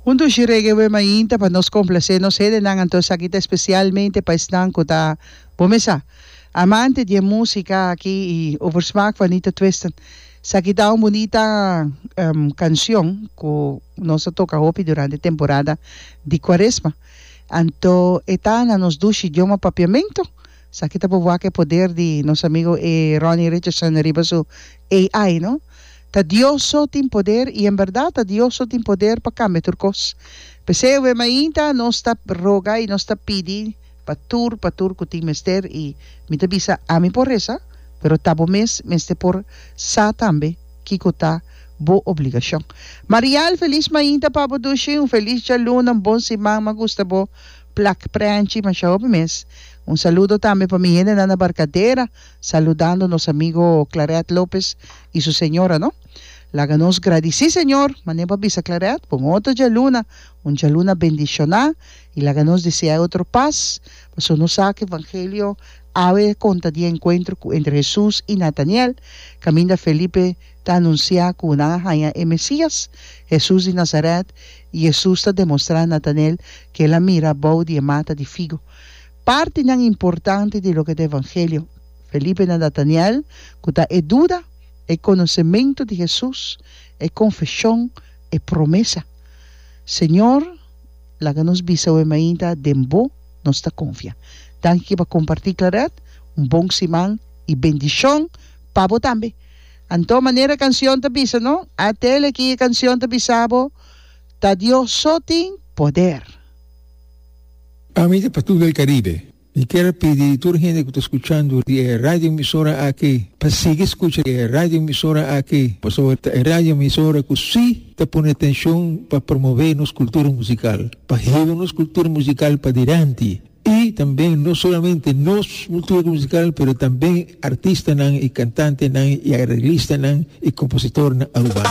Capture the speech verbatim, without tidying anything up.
Un dushi reggae awe mainta pa nos complacé nos hendenan. Anto esaki ta especialmente pa esnan cu ta, bo mes sa, amante di e musica aki y over smaak van niet te twisten. Esaki ta un bunita cancion cu nos a toca hopi durante temporada di Cuaresma. Anto e ta na nos dushi idioma Papiamento. Esaki ta por wak e poder di nos amigo e Ronnie Richardson riba su A I, no? Ta Dios so tin poder y en berdad ta Dios so tin poder pa cambia tur cos. P'esey awe mainta nos ta roga y nos ta pidi pa tur pa tur cu tin mester y mi ta bisa ami por reza pero ta bo mes mester por sa tambe kico ta bo obligacion. Marial, feliz mainta pa bo dushi, un feliz djaluna, un bon siman, m'a gusta bo plak prenchi masha hopi mes. Un saludo tambe pa mi hendenan na Barcadera, saludando nos amigo Claret Lopez y su señora, no? Laga nos gradici Señor, manera bo a bisa Claret, pa un otro djaluna, un djaluna bendiciona, y laga nos desea e otro paz, pasobra nos sa cu Evangelio awe conta di e encuentro cu entre Jesus y Nataniel, caminda Felipe ta anuncia cu nan a haña e Mesias, Jesus di Nazaret, y Jesus ta demostra Nataniel cu el a mira bou di e mata di figo. Partinan importante di loke ta Evangelio. Felipe na Nataniel, cu ta e duda, e conocemento di Jesus, e confesion, e promesa. Señor, laga nos bisa awe mainta den Bo nos ta confia. Danki pa comparti, Claret, un bon siman y bendicion pa bo tambe. Anto manera cancion ta bisa, no? Atele aki e cancion ta bisa bo, ta Dios so tin poder. Ami ta Patu del Caribe. Mi kier pidi tur hende cu ta scuchando di e radio emisora aki pa sigui scucha e radio emisora aki, pasobra ta e radio emisora cu si ta pone atencion pa promove nos cultura musical, pa hiba nos cultura musical padilanti y tambe no solamente nos cultura musical pero tambe artistanan y cantantenan y arreglistanan y compositornan Arubano.